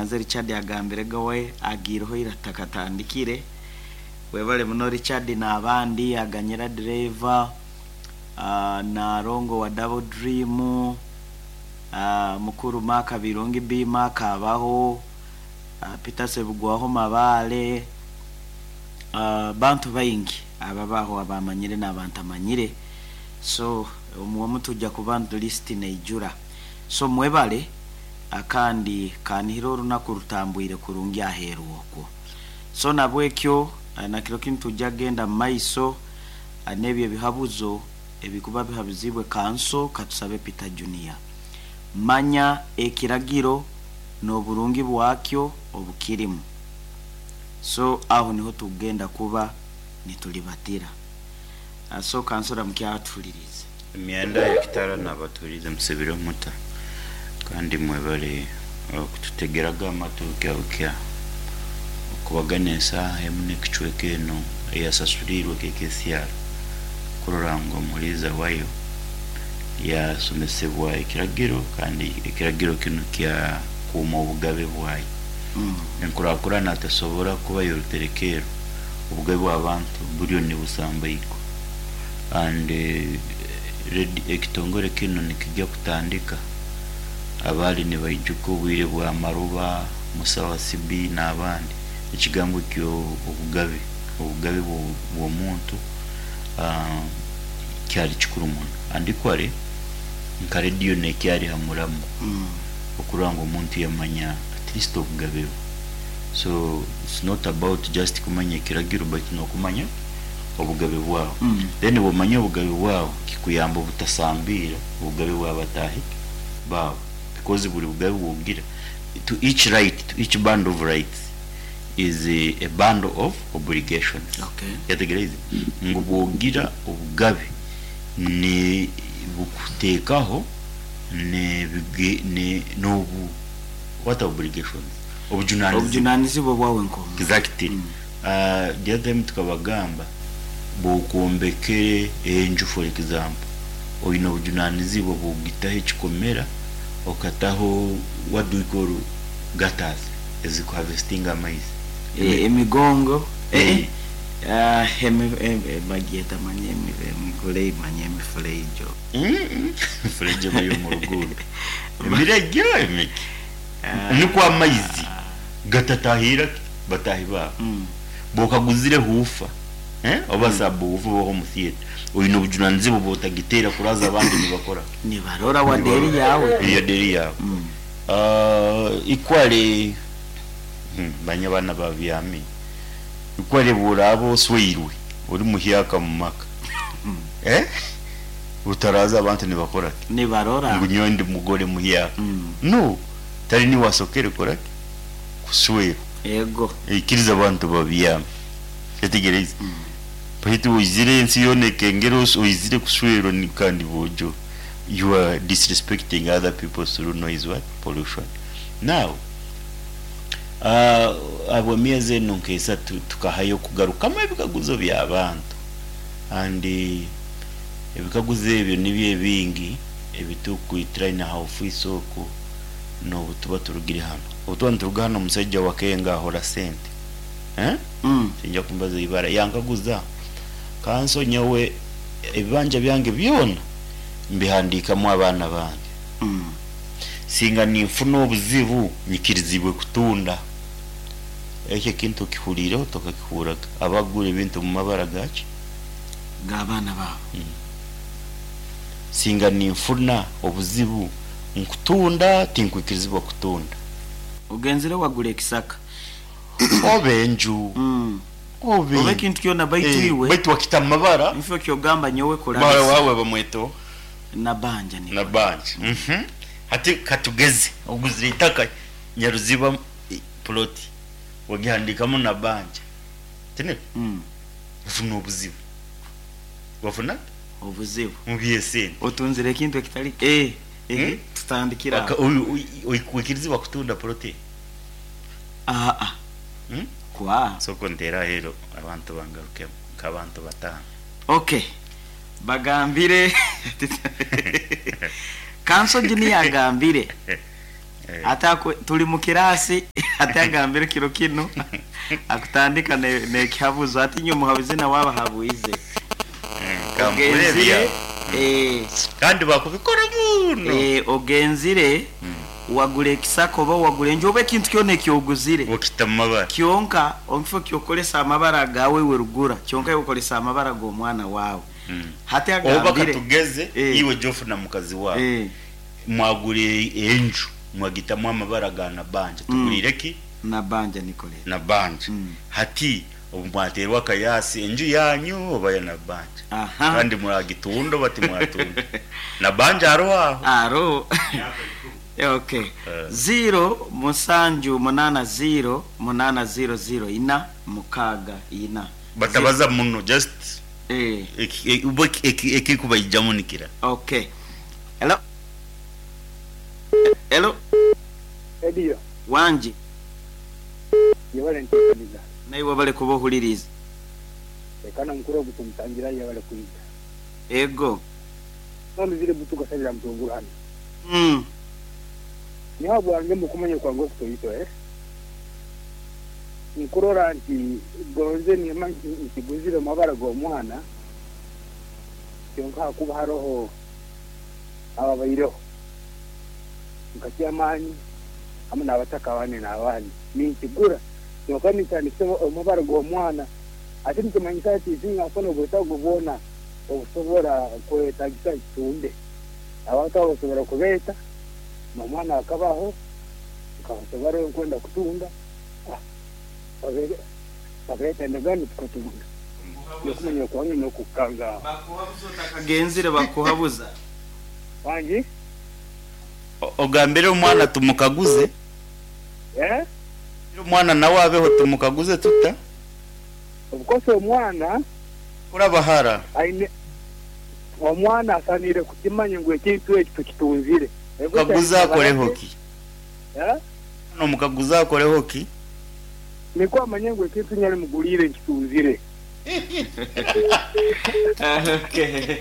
Nze Richard agambire ga we agiireho ira atakatandikire. Webale muno Richard n'abandi, Aganyira Driver, Nalongo wa Double Dream, Mukuru Mark Birungi B Mark abaho, Peter Sebugwaho Mabaale, bantu baingi ababaho abamanyire n'abantamanyire. So omu tujja kuba list neijura. So mwebale kandi kanihire orunaku rutambwire kurungi aheeru okwo. So nabwekyo nakiro kinu nitwija kugenda mumaiso n'ebyo ebihabuzo ebikuba bihabuzibwe kanso katusabe Peter Junior. Manya ekiragiro n'oburungi bwakyo obukirimu. So aho niho tukugenda kuba nitulibatira. So kanso ramukya atuhuliriize. Emyenda y'ekitara nabatuhuriize musibire muta kandi mwebale kututegeraga amatu bukya bukya okubagana esaaha emu n'ekicweka eno eyasasuliirwe KKCR kurora ngu omuhuriiza wayo yasomesebwa ekiragiro kandi ekiragiro kinu kyakuuma obugabe bwayo. Enkurakurana tesobora kuba y'oruterekeero obugabe bw'abantu buriyo nibusambaigwa. And ekitongore kinu nikija kutandika abaali nibaijuka obwire bwa Maruba, Musa Wasibi n'abandi, ekigambo ky'obugabe, obugabe bw'omuntu kyali kikuru muno. And equally nka rediyo nekyari ha muramwa okurora ngu omuntu yamanya at least obugabe bwe. So it's not about just kumanya ekiragiro baitu n'okumanya obugabe bwawe. Then bwomanya obugabe bwawe kikuyamba obutasambiira obugabe bwa bataahi baawe because buri bugabe bwogira to each right, to each bundle of rights is a bundle of obligations. Oyetegyereize? Ngu bwogira obugabe ni bukuteekaho ne nobu what obligations? Obujunanizibwa. Obujunanizibwa bwawe nk'omuntu. Exactly. The other time tukabagamba bwokwombekere enju for example oyine obujunanizibwa bwokugitaho ekikomera okataho what do we call gutters eziku harvestinga amaizi. Emigongo bagyeta manya emigureyi manya emifureijo. Emifuregye eba ey'omuruguuto emiregye emiki nikwo amaizi gatatahirira ki bataahi baabo. Bw'okaguzire huufa oba sub-woofer oba home theatre, oine obujunanizibwa bw'otagiteera kuraaza abandi nibakora ki? Nibarora wadde eri yaawe. Yadde eri yaawe. Equally, manya abaana babyami, equally bw'oraaba osweirwe ori muhyaka omu maka, otaraaza abantu nibakora ki? Nibarora. Ngu nyowe ndi mugore muhyaka. No, tari niiwe asokere kukora ki? Kuswerwa. Ego. Ikiriza abantu babyame. Kyetegereze. Baitu oizire ensi yoona ekengera oizire kuswerwa kandi boojo you are disrespecting other people through noise what? Pollution. Now, ahabw'emyezi enu nk'esatu tukahayo kugarukamu ebikaguzo by'abantu and ebikaguzo ebyo nibyo ebingi ebitukwitiraine ha ofiisi oku n'obu tuba turugire hanu. Obu tuba nituruga hanu omusaija wa Kenga ahora sente eh? Tinja kumbaza ibara. Yankaguza, Kanso nyowe ebibanja byange byona mbihandiikamu abaana bange. Singa ninfuna obuzibu nyikirizibwe kutunda. Ekyo ekintu okihuriireho tokakihurraga? Abagura ebintu omu mabara gaki? G'abaana baabo. Singa ninfuna obuzibu Nkutunda tinkwikirizibwa kutunda. Ogenzire wagura ekisaka. Oba enju. Oba Oba ekintu kyona baitu iwe. Baitu wakita mu mabara. Nifwe kyogamba nyowe Muhara kurabisa. wawe bamweta oha? Nabanja nikwo. Nabanja. Hati katugeze oguzire itaka Nyaruziba plot wagihandikamu Nabanja tiniko? Wafuna obuzibu. Wafuna? Obuzibu. Omu by'esente. Otunzire ekintu ekitari eh eh tutandikire aho. Oikirizibwa kutunda poloti egi? Aa kwa. Sooka onteere aheeru abantu bangarukemu nk'abantu bataano. Ok bagambire Kanso Junior agambire. Ate aku, tuli mu kiraasi, ate agambire kiro kinu akutandika ne, n'ekihabuzo ati inywe muhabuzi nawe abahabwize. Kampurire Ogenzire, ebya. eh, Kandi bakubikora muno. eh, ogenzire wagura ekisaka oba wagura enju oba ekintu kyona eki oguzire. Okita mu mabara. Kyonka omu kifo ky'okukoresa amabara gaawe iwe rugura, kyonka iwe okoresa amabara g'omwana waawe. Hati Oba agambire, katugeze eh, iwe Geoffrey na mukazi waawe eh, mwagura enju mwagitamu amabara ga Nabanja. Tuguriire ki? Nabanja Nicolette. Nabanja. Hati obu mwateerwa akayaasi enju yaanyu oba ya Nabanja? Aha. Kandi muragitunda oba timwatunda? Nabanja aroho aho. Aroho. Okay. Ziiro musanju munaana ziiro munaana ziiro ziiro ina mukaaga ina. Batabaza muno just Eh. Bo ekirikubaijamu nikira. Okay. Hello. Hello. Ediyo. Wangi. Yebale ntekaniza. Naiwe webale kuba ohuririize. Reka na mukuru ogu tumutangira yebale kwija. Ego. None ziri butu gasabira mutunguru hano. Niho bwange mukumanya kwange okutoito eh. Nkurora nti gonze nima nkiguzire mabara g'omwana kyonka hakuba haroho ababaireho nka kyamaani hamwe n'abataka abandi n'abandi ninkigura kyonka nintandikisa omubara gw'omwana ate nikimanyisa nti sinkafuna obwetaago bwona obusobora kwetagisa nkitunde abantu abo basobora kubeeta n'omwana akabaho nkabasobora nkwenda kutunda babeeta endagaano tukatunda n'okumanya kwange n'okukanga Bakuhabuza otakagenzire bakuhabuza. Wangi? Ogambire omwana tumukaguze. Eh? Omwana nawe abeho tumukaguze tuta? Of course omwana Kurabahara. Aine omwana asanire kukimanya ngu ekintu eki tukitunzire. Mukaguze akoreho ki? Eh? Omukaguze akoreho ki? Nikwo amanye ngu ekintu nyari muguriire nkitunzire. Okay.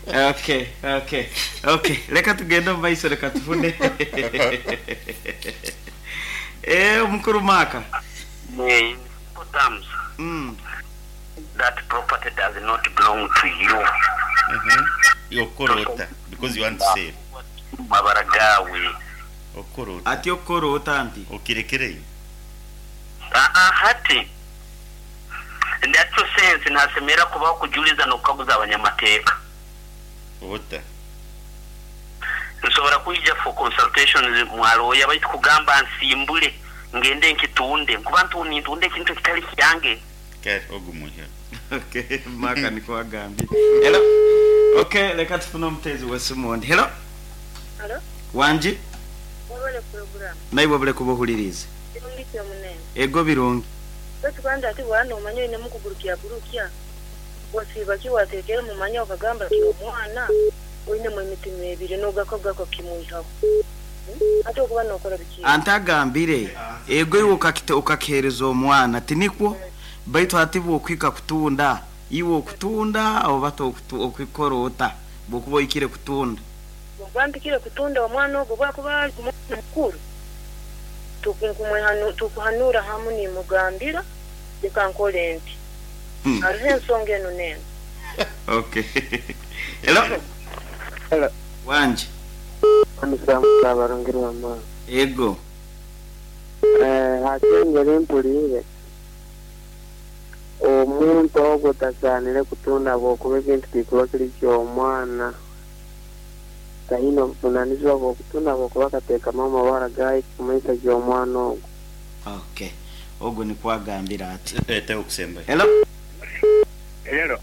Okay, okay. Okay, reka tugende omu maiso reka tufune. Eh, omukuru Mark. In simple terms, that property does not belong to you. Okorota because you want to save. Mabara gawe. Okorota. Ati okorota nti. Okirekereyo. Hati in that sense nasemera kubaho kujuliza n'okukaguza abanyamateeka. Ota. Nsobora kwija for consultations mwaloya baitu kugamba nsimbule ngende nkitunde nkuba nintunde ekintu ekitali kyange. Kare ogumuhe. Okay, Maka niko agambye. Hello. Okay, reka tufune omutezi w'esimu ondi. Hello. Hello. Wangi? Wabale program. Naiwe wabale kuba ohuririize. Birungi kyo munene. Ego birungi. Baitu kandi ati bwana omanye oine mukugurukya gurukya. Wasiiba ki wateekere mu manya okagamba ki omwana oinemu emitima ebiri n'ogakogako kimwihaho. Ate okuba n'okora biki? Ante agambire ego iwe okakihereza omwana tinikwo baitu hati bw'okwika kutunda iwe okutunda oba okukora ota bw'okuba oikire kutunda. Bw'okuba mpikire kutunda omwana ogwo bwakuba ari omwana mukuru tukuhanura hamu nimugambira reka nkore nti. Hariho ensonga enu n'enu. Okay. Hello. Hello. Wangi. Abarungirwa mama. Ego. Hati engeri mpuriire omuntu ogwo tasaanire kutunda bw'okuba ekintu kikuba kiri ky'omwana taine obuvunanizibwa bw'okutunda bw'okuba akateekamu amabara gaayo kumanyisa ky'omwana ogwo. Okay. Ogwo nikwo agambira ati. Leta okusembayo. Hello. Hello.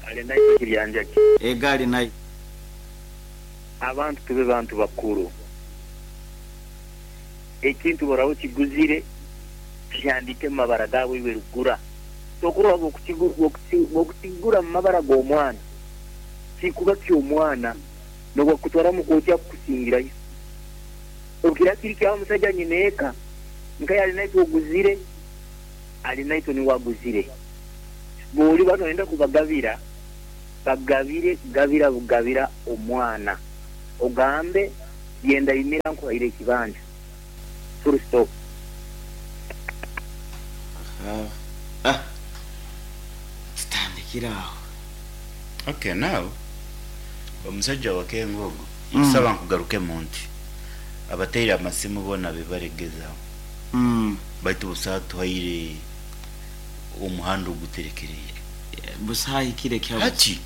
Ali nayo kiryanjaki. Egali nayo. Abantu tube bantu bakuru. Ekintu boraho kiguzire kihandike mu mabara gawe iwe rugura. Tokurwa bw'okukigura mu mabara g'omwana. Kikuba ky'omwana n'obwakutwara mu kooti akukusingirayo. Okira kiri kya musajja nyineeka nka yali naitwe oguzire ali naitwe niwe aguzire. Bw'oli bano oyenda kubagabira bagabire gabira bugabira omwana. Ogambe Byenda yimira nkuhaire ekibanja. Full stop. Aha. Tutandikire aho. Okay now omusajja wakenga ogu nkusaba nkugarukemu nti abateire amasimu bona bebaregezaho baitu busaho atuhaire omuhanda oguterekereire. Busaho ahikire kya busa. Hati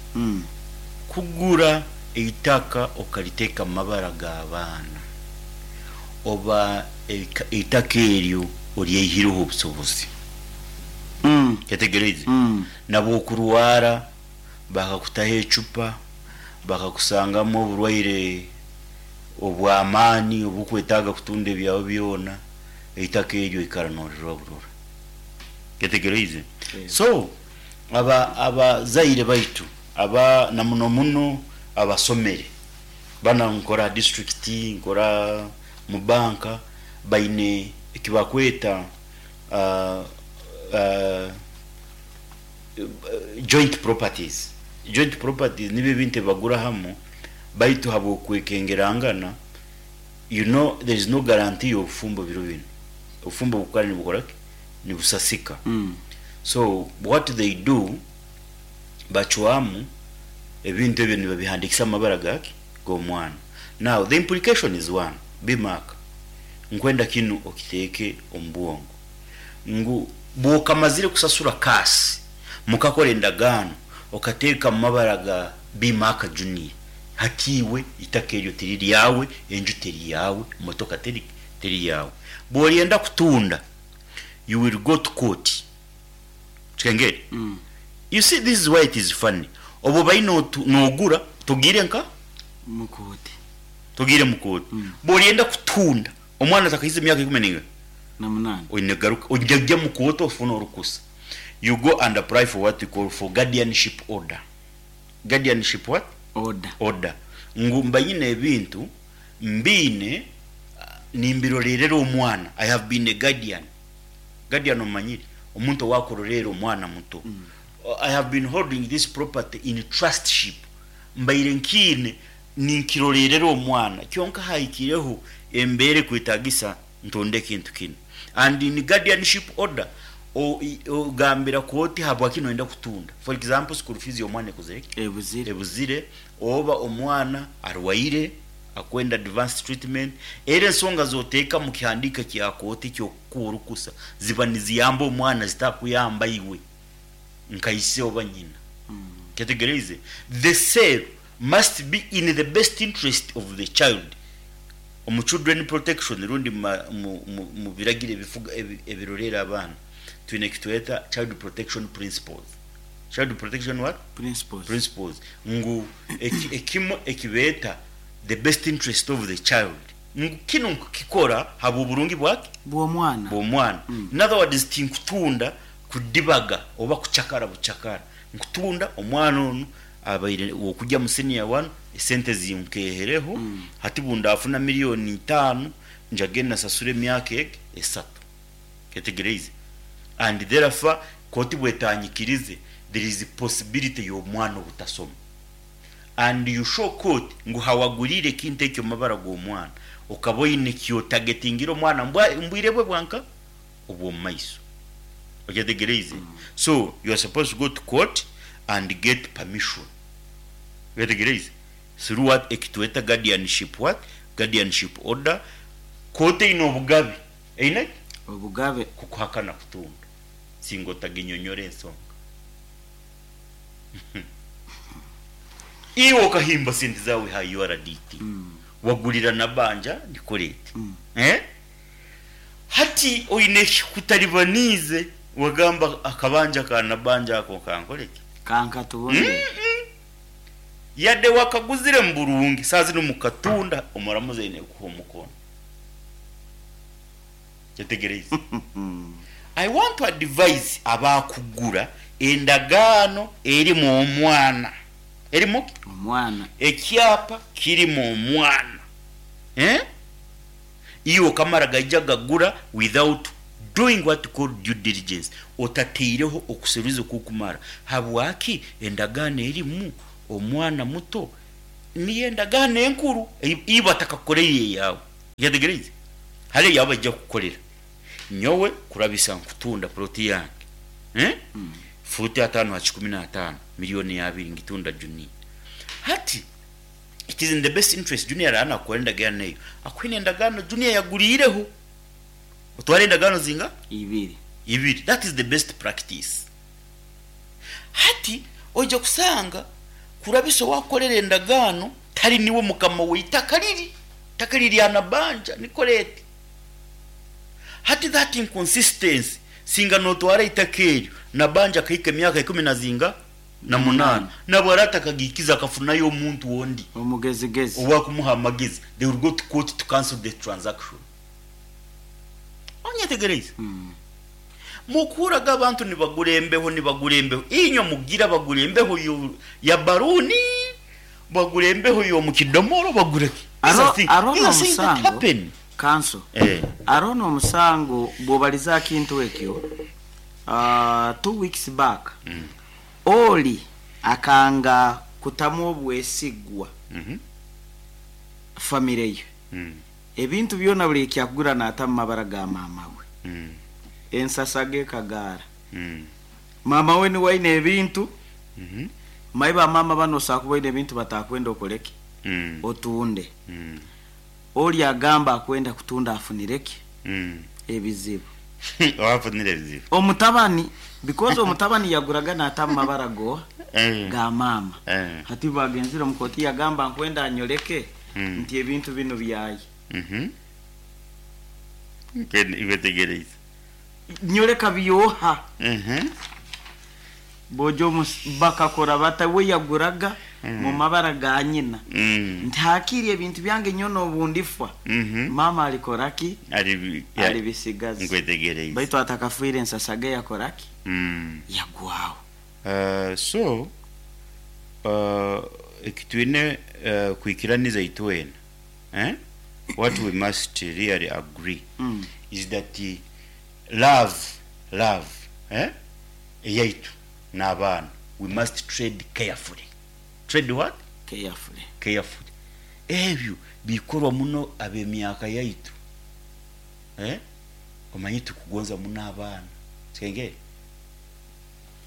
kugura eitaka okariteeka mu mabara g'abaana oba eitaka eryo oryeihireho obusobozi. Kyetegereize? Nabwokurwara bakakutaho ecupa, bakakusangamu oburwaire obw'amaani obukwetaaga kutunda ebyawe byona, eitaka eryo oikara norirora burora. Kyetegereize? So aba abazaire baitu aba na muno muno abasomere, bana nkora ha district, nkora mu banka, baine ekibakweta joint properties. Joint properties nibyo ebintu ebibagura hamu baitu habw'okwekengerangana, you know there is no guarantee y'obufumbo biro binu. Obufumbo bukukara nibukora ki? Nibusasika. So what they do, bacwamu ebintu ebyo nibabihandikisa amabara gaki? G'omwana. Now the implication is one, be mark, nkwenda kinu okiteeke omu bwongo ngu bwokamazire kusasura kaasi mukakora endagaano okateeka mu mabara ga Be Mark Junior, hati iwe itaka eryo tiri ryawe, enju teri yaawe, motoka teri teri yaawe. Bworyenda kutunda, you will go to court. Kikengeri? You see this is why it is funny. Obu obaire nogura togiire nka? Mu kooti. Togiire mu kooti. Bworyenda kutunda omwana atakahize emyaka ikumi ninga? Na munaana. Oine kugaruka ojya mu kooti ofune orukusa. You go and apply for what we call for guardianship order. Guardianship what? Order. Order. Ngu mba nyine ebintu mbiine nimbiroreerera omwana. I have been a guardian. Guardian omanyire? Omuntu owakuroreera omwana muto. I have been holding this property in trustship. Mbaire nkiine ninkiroreerera omwana kyonka hahikireho embeera ekwetagisa ntonde ekintu kinu. And in guardianship order, ogambira kooti habwaki noyenda kutunda. For example, school fees y'omwana ekozire ki? Ebuzire. Ebuzire, oba omwana arwaire akwenda advanced treatment, era ensonga zoteeka mu kihandiiko ekya kooti eky'okukuha orukusa ziba niziyamba omwana zitakuyamba iwe nka ise oba nyina. Kyetegereize? The sale must be in the best interest of the child. Omu children protection rundi mu biragiro ebifuga ebiroreera abaana twine ekitweta child protection principles. Child protection what? Principles. Principles ngu ekimwe ekibeeta the best interest of the child ngu kinu nkukikora habw'oburungi bwaki? Bw'omwana. Bw'omwana. In other words tinkutunda kudibaga oba kucakara bucakara, nkutunda omwana onu abaire w'okugya mu senior one esente zinkehereho, hati bundafuna million itaano njage nasasura emyaka egi esatu. Kyetegereize? And therefore kooti bwetanyikirize there is possibility y'omwana obutasoma. And you show court ngu hawaguriire ekintu ekyo omu mabara g'omwana okaba oine ekyotagetingire omwana mbwire bwe bwanka? Obw'omu maiso. Okyetegereize? So you are supposed to go to court and get permission. Okyetegereize? Through what ekitweta guardianship what? Guardianship order. Kooti eine obugabe. Eine ki? Obugabe. Kukuhakana kutunda singa otaginyonyora ensonga. Iwe okahimba sente zaawe ha URDT, wagurira Nabanja Nicolette. Eh? Hati oine ekikutaribaniize wagamba akabanja ka Nabanja ako kankore ki? Kankatubone. Yade wakaguzire mu burungi, saaha zinu mukatunda omuramuzi aine kukuha omukono. Kyetegereize? I want to advise abakugura endagaano erimu omwana. Erimu ki? Omwana. Ekyapa kirimu omwana. Eh? Iwe okamara gaija gagura without doing what you call due diligence. Otateireho okuseruza okukumara. Habwaki endagaano erimu omwana muto? Niyo endagaano enkuru ei ei batakakukoreire eyaawe. Oyetegyereize? Hariho eyaawe baija kukukorera. Nyowe kurabisa nkutunda puroti yange, eh, fuuti ataano ha kikumi n'ataano, milioni abiri ngitunda Junior. Hati it is in the best interest Junior araaba naakukora endagaano eyo, akuhe n'endagaano Junior yaguriireho. Otware endagaano zinga? Ibiri. Ibiri. That is the best practice. Hati oija kusanga kurabisa owakukorera endagaano tari niwe mukama w'eitaka riri, eitaka riri rya Nabanja Nicolette. Hati that inconsistency singa notwara eitaka eryo Nabanja akahika emyaka ikumi na zinga? Na munaana nabwo araba atakagiikize akafunayo omuntu ondi Omugezigezi. owakumuha amagezi they will go to court to cancel the transaction. Onyetegereize? Mukuhurraga abantu nibagura embeho, nibagura embeho. Inywe mugira bagura embeho ya baruuni, bagura embeho y'omu kidomoro, bagura ki? These are Aro things, aro these are things that n'omusango happen. kanso Eh. aro n'omusango bw'obaliza aha kintu ekyo 2 weeks back oli akanga kutamu obwesigwa famire ye ebintu byona buli ekyakugura naata mu mabara ga maama we ensasa ge kagaara maama we niwe aine ebintu mayi bamaama bano osobola kuba oine ebintu batakwenda okoleki otunde oli agamba akwenda kutunda afunireki ebizibu. Wafunire ebizibu. Omutabani, because omutabani yaguraga naata mu mabara goa ga maama. Hati bagenzire omu kooti yagamba nkwenda anyoleke nti ebintu binu byaye. Nkwetegereize. Nyoleka byoha bojo bakakora bata we yaguraga mu mabara ga nyina nti hakiri ebintu byange nyono obundifwa mama alikoraki alibisigaza. Nkwetegereize. Baitu atakafiire ensasage yakoraki yagwaho. So ekitwine kwikiraniza itwena, eh? What we must really agree is that love, eh? Eyaitu n'abaana, we must trade carefully. Trade what? Carefully. Carefully. Ebyo bikorwa muno ab'emyaka yaitu, eh? Omanyi tukugonza muno abaana senge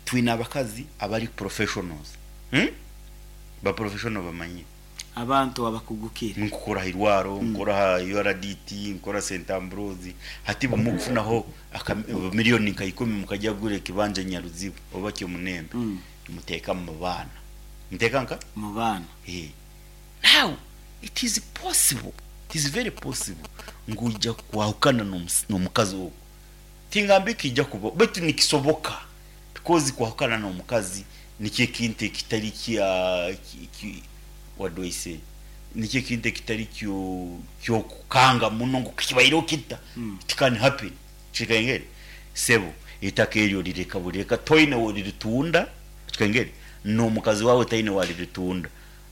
twine abakazi abari professionals, Ba professional bamanyi abantu abakugukire. Nkukora hairwaro, nkora ha URDT, nkora St Ambrose. Hati bumukufunaho miliyoni nka 10 mukajya kugura ekibanja Nyaruzibu oba Kyomunembe, muteeka mu baana, muteeka nka mu baana. Eh. Now it is possible, it is very possible ngu ojja kwahukana n'omukazi ogwo. Tingambe kijja kuba, baitu nikisoboka, because kwahukana n'omukazi nikyo ekintu ekitari kya what do I say, nikyo ekintu ekitari kyo kyokukanga muno ngu kibaireho kita. It can happen. Kikengere sebo, itaka eryo lireka buleka, toine woliritunda, kikengere n'omukazi wawe taine waliritunda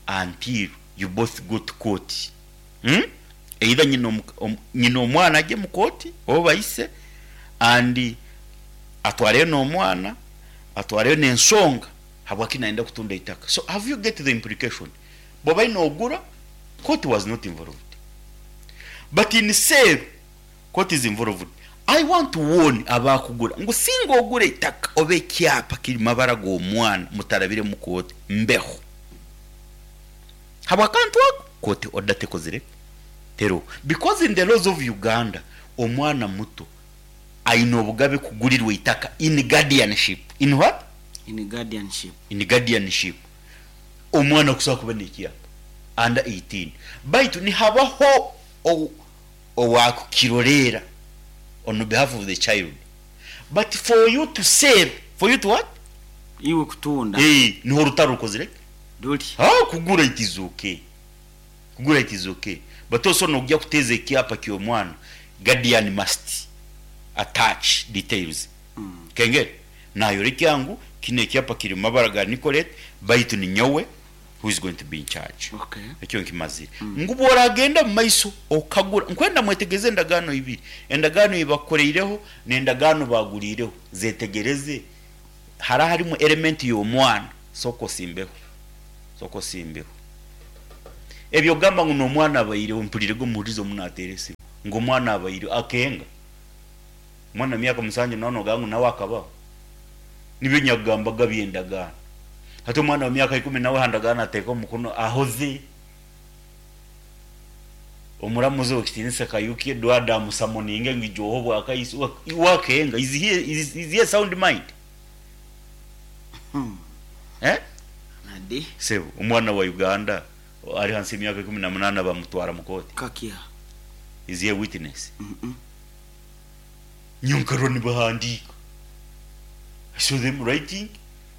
until you both go to court, Either nyina omwana ajye mu kooti oba bayise and atwareyo n'omwana, atwareyo n'ensonga habwaki nayenda kutunda itaka. So have you get the implication? Bw'oba ogura, court was not involved, but in sale court is involved. I want to warn abakugura ngu singa ogura itaka oba ekyapa kiri mabara g'omwana mutarabire mu kooti, mbeho habwakantu ako kooti order tekozire tero, because in the laws of Uganda omwana muto aine obugabe kugurirwa itaka in guardianship. In what? In guardianship. In guardianship. Omwana kusobola kuba nekyapa under 18, baitu nihabaho owakukiroleera on behalf of the child. But for you to save, for you to what? Iwe kutunda. Eh, niho orutaro rukozire. Ruri. Ah, kugura it is okay, kugura it is okay, but also nojya kuteeza ekyapa ky'omwana, guardian must attach details. Kengere nayoreka ngu kino ekyapa kiri mu mabara ga Nicolette, baitu ni nyowe who is going to be in charge. Ekyo nkimazire ngu bworagenda mu maiso okagura, nkwenda mwetegeze endagaano ibiri, endagaano ebakoreireho n'endagaano baguriireho, zetegereze hara harimu element y'omwana. Soko simbeho, soko simbeho. Ebyo kugamba ngu n'omwana abaireho mpuriirege omuhurizi omu naateera esimu ngu omwana abaireho akenga. Omwana wa myaka musanju nawe noogamba ngu nawe akabaho? Nibyo nyakugambaga by'endagaano. Hati omwana wa myaka ikumi nawe aha ndagaano ateeka omukono ahoze. Omuramuzi ow'ekitiinisa Kayuki Edward amusamoninge ngu ija ohe obwakaiso. Iwe akenga, is he, is he a sound mind? Eh? Nadi. Sebo, omwana wa Uganda ari hansi y'emyaka 18 bamutwara mu kooti? Kakya. Is he a witness? Nyowe nkarora nibahandiika. I saw them writing,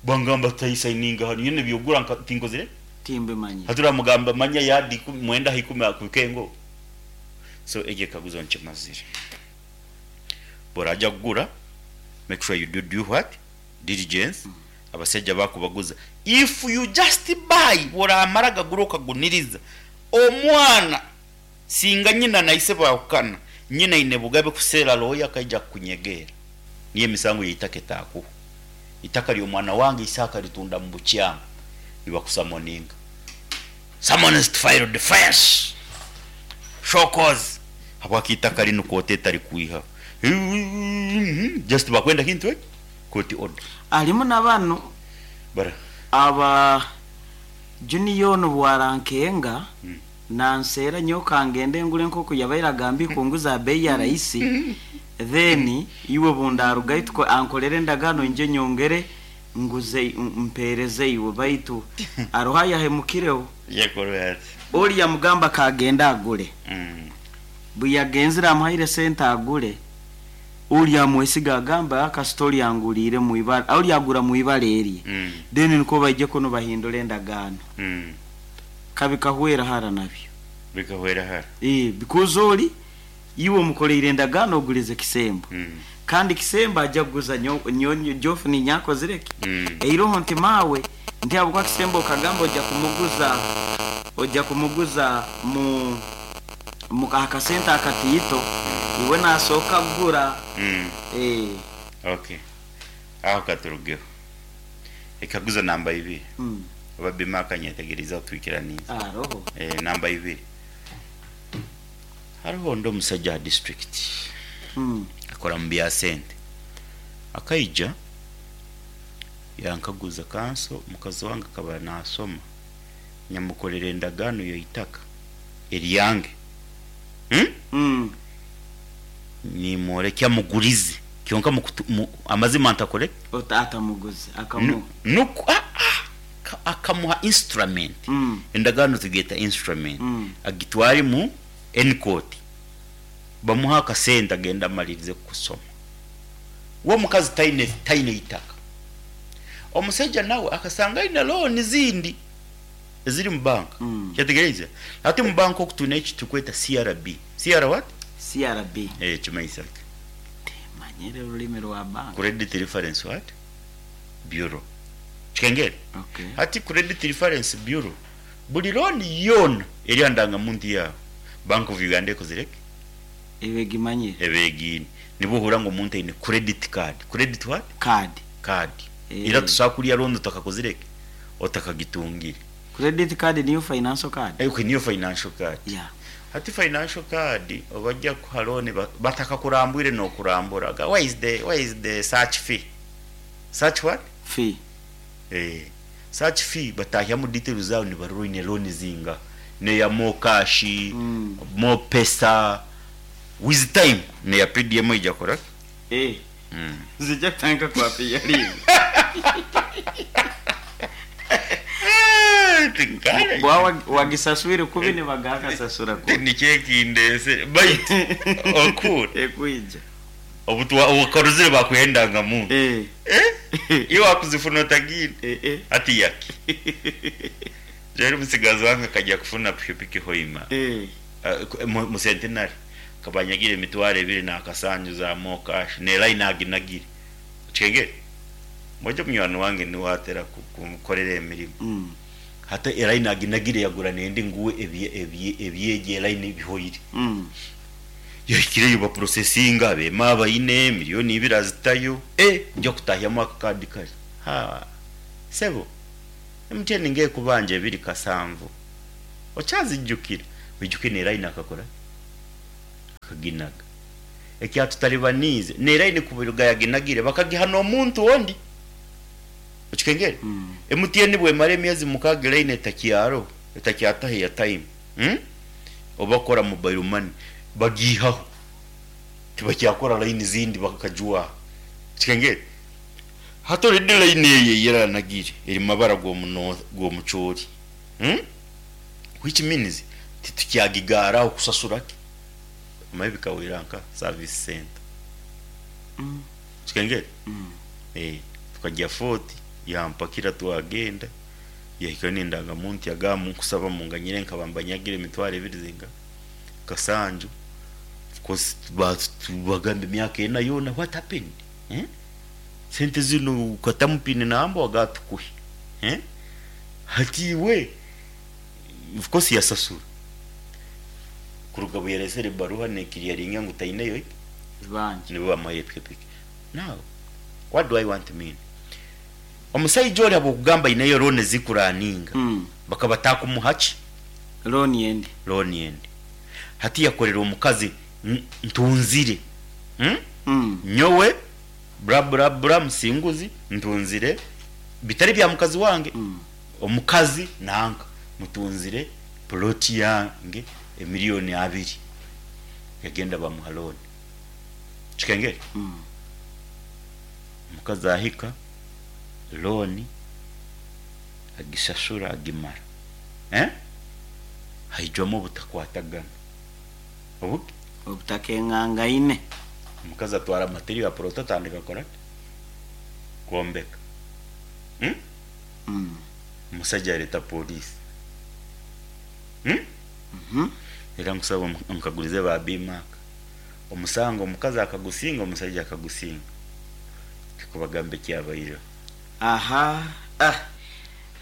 bangamba tayisayininga hanu nyine ebyogura nka tinkozire. Timbimanyire. Hati oramugamba manya yadi ikumi, mwenda aha ikumi akubike ngo. So egyo ekaguzo nkimazire. Bw'oraja kugura, make sure you do due what? Diligence, abasaija bakubaguza. If you just buy, bw'oramara gagura okaguniriza, omwana singa nyina na ise baahukana, nyina aine bugabe kuseera lawyer akaija kukunyegeera. Niyo emisango y'eitaka etaakuhwa. Eitaka ry'omwana wange ise akaritunda mu bukyamu, nibakusamoninga. Summons to file defence, show cause habwaki eitaka rinu kooti etarikwihaho. Just bakwenda kintu eki, court order. Harimu na banu Bara. aba Junior onu bwarankenga nanseera nyowe kangende ngure nkoku yabaire agamba ikunguza aha beeyi ya rahisi then iwe bundarugayo tuko ankorere endagaano nyije nyongere nguze mpeereze iwe baitu hariho ayahemukireho. Yakorwa ati. Ori yamugamba kagende agure. Buyagenzire amuhaire sente agure, ori amwesiga agamba kasita ori anguriire mwibara, ori agura mwibara erye. Then nikwo baije kunu bahindura endagaano. Kabikahwera hara nabyo. Bikahwera hara. Because ori iwe omukoreire endagaano ogurize kisembo. Kandi kisembo aja kuguza nyo, nyo, nyo Jofu ninyakozire ki? Eiroho nti mawe nti habwokuba kisembo okagamba oja kumuguza oja kumuguza mu mu akasente akatiito iwe nasooka kugura. Okay. Aho katurugeho. Ekaguzo namba ibiri. Oba Bima akanyetegereza otwikiraniize. Aroho. Namba ibiri. Hariho ondi omusajja aha district. Akora mu bya sente. Akaija yankaguza kanso mukazi wange akaba nasoma. Nyamukorera endagaano y'eitaka eryange. Nimworekya mugurize. Kyonka amazima ntakore? Atamuguze, akamuha. Nuku, akamuha instrument. Endagaano tugeta instrument. Agitware mu N-court. Bamuha akasente agenda amalirize kusoma. Uwo mukazi taine itaka. Omusajja nawe akasanga aine loan zindi eziri mu banka. Kyategereza. Ate mu banka okutuna eki tukweta CRB. CR what? CRB. Kimaisa. Manyire rulimi rwa banka. Credit Reference what? Bureau. Kikengere. Okay. Hati Credit Reference Bureau buli loan yona eri andanga muntu yawe. Bank of Uganda ekozireke? Ebegimanyire. Ebegini. Nibuhura ngo omuntu aine credit card. Credit what? Card. Card. Ira tusakuria loan otakakozireke? Otakagitungire. Credit card niyo financial card. Okay, niyo financial card. Yeah. Hati financial card obajja kuha loan bataka kurambwire no kurambura. Where is the, where is the search fee? Search what? Fee. Search fee batahya mu details zawe ni baruine loan zinga. Ne ya mo cash, mo pesa with time ne ya PDM ija kora. Zijja kutandika kwa PDM. Bwa wagisaswire kubi ne bagakasasura kubi. Ni kyekindese bait okura. Ekwija. Obutwa okoruzire bakuhendanga mu. Iwe wakuzifuna otagine. Ati yaki. Rero musigazi wange akajya kufuna pikipiki hoima. Mu centenary kabanyagire emitwaro ebiri n'akasanju za mo cash ne line aginagire. Chengere. Moja munywani wange niwe atera kumukorera emirimo. Hata line aginagire yagura nendi nguwe ebyegye line bihoyire. Yakireyo ba processinga bema abayine miliyoni ibiri azitayo. Nja kutahyamu akakadi kari. Ha. Sebo. MTN ngiye kubanja ebiri kasanvu. Okyazijjukira? Oijuke n'eraini akakora ki? Akaginaga. Ekyatutalibaniize, n'eraini kuruga yaginagire bakagiha n'omuntu ondi. Okikengere? MTN bwemara emyezi mukaaga line etakyaroho, etakyataho airtime, oba kukora mobile money, bagiihaho. Tibakyakora line zindi bakajwaha. Okikengere? Hati already line eyo ei eranagire eri mumabara g'omucoori, which means titukyagigaaraho kusasura ki? Omanye bikahwera nka service center. Okikengere? Tukagya Fort yampakira twagenda, yahikayo n'endangamuntu yagamba nkusaba munganyire nkaba mbanyagire emitwaro ebiri zinga kasanju, of course bagamba emyaka ena yoona what happened? Sente zinu okatamu pin number wagamba tukuhe, hati iwe of course yasasura. Kuruga obu yaresere ebaruha nekiriyaringa ngu taineyo ki? Ibanja. Nibo bamuhaire pikipiki. Now, what do I want to mean? Omusaija ori habw'okugamba aineyo loan ezikuraninga, bakaba batakumuha ki? Loan endi. Loan endi. Hati yakorera omukazi ntunzire. Nyowe bra bra bra musinguzi ntunzire bitari bya mukazi wange. Omukazi nanka mutunzire plot yange emiliyoni abiri. Yagenda bamuha loan. Kikengere? Omukazi ahika loan agishashura agimara. Haijwamu obutakwatagana. Obuki? Obutakengangaine. Omukazi atwara material ya plot atandika kukora ki? Kwombeka. Omusaija areta police. Era nkusaba nkagulize ba B-Mark. Omusango omukazi akagusinga omusaija akagusinga. Tikubagamba ekyabaireho. Aha ah